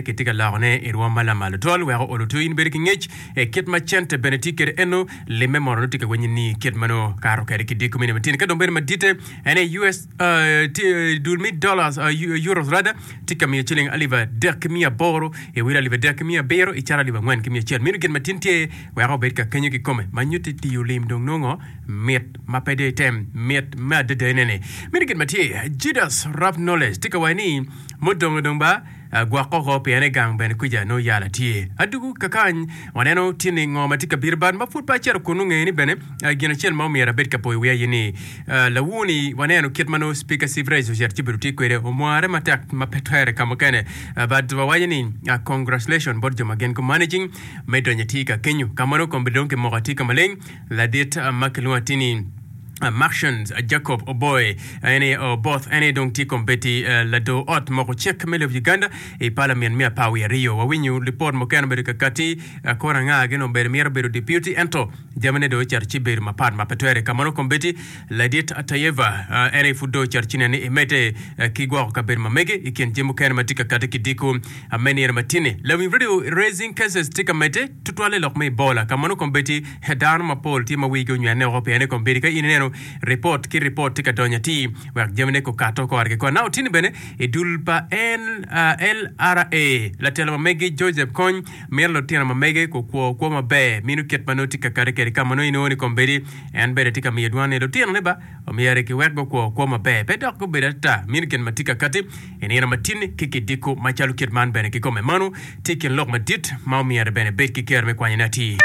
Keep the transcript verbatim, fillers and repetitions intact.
Kitye ka lokone i rwom ma lamal tutwal weko olo to in bedo ki ngec i kit ma cente bene tye kwede eno limme mono nongo tye ka winyo ni kit ma nongo kato kwede ki diko mini matini. Ka dong bedo maditte en aye U S tye dul me dollars, euros rather, tye ka miyo ciling alip adek ki miya aboro i wil alip adek ki miya abiro i cal alip angwen ki miya acel. Meno gin ma tin tye weko obed ka kenyo kikome ma nyutti tiyo lim dong nongo mit ma pe dong item mit me adada enene. Meno gin ma tye Judas Rap Knowledge tye ka waco ni mudongo dong ba gwoko oko pien i gang bene kwica nongo yala tye. Adugu kakany waneno tye ni ngo ma tye ka bino bad ma pud pe acito kunnu nge ni bene gin acel ma omyero abed ka poyo wiya aye ni lawuni waneno kit ma nongo Speaker Sivrage ocito ci obedo tye kwede omware matek ma pe twere ka mukene but wawaco ni congratulation bot jo ma gin gu managing me donyo atir ka kenyo ka ma nongo kombeddi dong kimoko atir ka maleng ladit ma kilwongo atir ni Martians Jacob Oboy en aye Oboth en aye dong tye kombeddi lador ot moko cik me lobo Uganda i Parliament me apar wiye aryo. Wawinyo lipot mukene obedo ka kati kore anga gin obedo myero bedo deputy ento jamine dong ocito ci bedo mapat ma pe twere ka ma nongo kombeddi ladit Tayeva en aye pud dong ocito ci nene imedde ki gwoko kabedo ma mege i kin jami mukene ma tye ka kati ki diko me nino matini. Lawiny radio raising cases tye ka medde tutwalle lok me Ebola ka ma nongo kombeddi dano mapol tye ma wigi onywene woko pien ni kombeddi ka in ineno ripot ki ripot tye ka donyo atir wek jamine gukato kore ki kore. Naka otini bene i dul pa L R A latelo ma megi Joseph Kony mito lutino ma mege gukwo kwo maber mino kit ma nongo tye ka kati kwede ka ma nongo inongo ni kombeddi en bene tye ka miyo dwan ni lutinone ba omyero kiwek gukwo kwo maber pe dok gubedo ata mino gin ma tye ka kati i nino matini ki kidiko macalo kit man bene kikome mano tye i kin lok madit ma omyero bene bed ki kero me kwanyone atir.